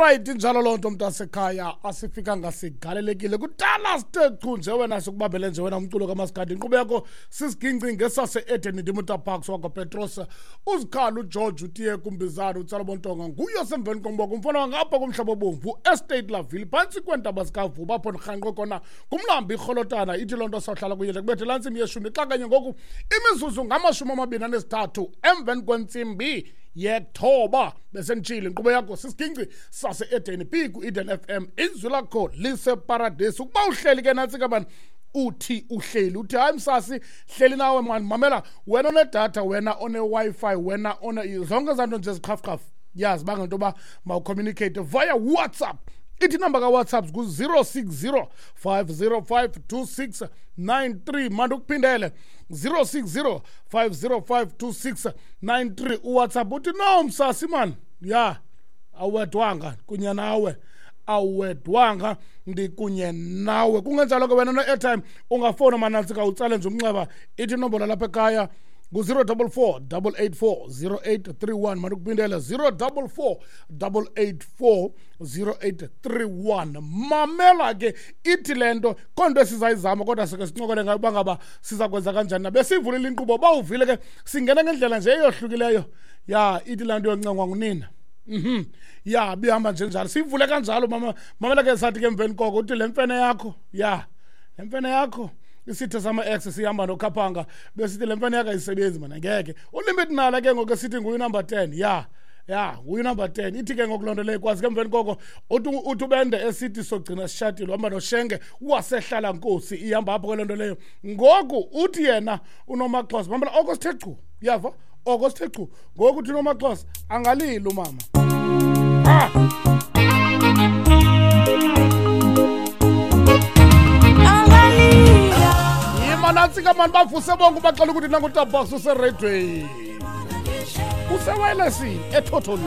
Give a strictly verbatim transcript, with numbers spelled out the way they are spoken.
Alright, injalo loo nto mntasekhaya, asifikanga sigalelekile kudala sithe chu nje wena, sikubambele nje wena umculo kamaskandi. Inkqubo yakho sisiginci ngesase-Eden. Ndimutaparks wakwaPetros, uzikhala uGeorge utiye kumbizana utsala bontonga nguye osemveni komboko umfana wangapha kumhlaba obomvu Estate Laville phantsi kweentaba zikaVuba apho ndirhanqwe khona ngumlambi irholotana. Ithi loo nto sawuhlala kunye nje kubethe laa ntsimbi yeshumi xa kanye ngoku imizuzu ngamashumi amabini anesithathu emveni kwentsimbi yethoba. Besenditshile, inkqubo yakho sisiginci sase-Eden p ku-Eden F M, izwi lakho liseparadesi. Ukuba uhleli ke nantsi kabani uthi uhleli uthi hayi msasi hleli nawe mani, mamela wena onedatha, wena one-Wi-Fi, wena one zonke ezaa nto nje ziqhafuqhafu, yazi banga into yoba mawucommunicate via WhatsApp. Ithi inamba kaWhatsApp ngu-zero six zero five zero five two six nine three. Mandukuphindele zero six zero five zero five two six nine three. UWhatsApp uthi no msasi man, ya awedwanga kunye nawe, awedwanga ndikunye nawe. Kungenjalo ke wena no-airtime ungafowuna manantsi ka utsale nje umnxeba. Ithi inombolo lapha ekhaya ngu-zero double four double eight four zero eight three one. Mandukuphindele zero double four double eight four zero eight three one. Mamela ke ithi le nto konto esizayizama kodwa sike sincokole ngayo uba ngaba siza kwenza kanjani na. Besiyivulile inkqubo, bawuvile ke singena ngendlela nje eyohlukileyo. Ya ithi laa nto yoncengwa ngunina. Mhm. Ya bihamba nje njalo. Siyivule kanjalo mama. Mamela ke sathi ke emveni koko uthi le mfene yakho. Ya. Le mfene yakho. Isithe sama-ex sihamba nokhaphanga besithi le mfene yakho ayisebenzi mana ngeke. Ulimit nala ke ngoku esithi nguye number ten. Ya. Ya, nguye number ten. Ithi ke ngoku loo nto leyo kwazi ke emveni koko uthi uthi ubende esithi sogcina sishatile uhamba noShenge wasehlala nkosi ihamba apho ke loo nto leyo. Ngoku uthi yena uNomaxhosa mamela oko sithe chu. Uyava? Oko sithe chu. Ngoku uthi uNomaxhosa angalili umama. Ah! Nantsika mani bavuse bonke baxela ukuthi nangu uTabax useredweni, usewayilesini ethotholweni.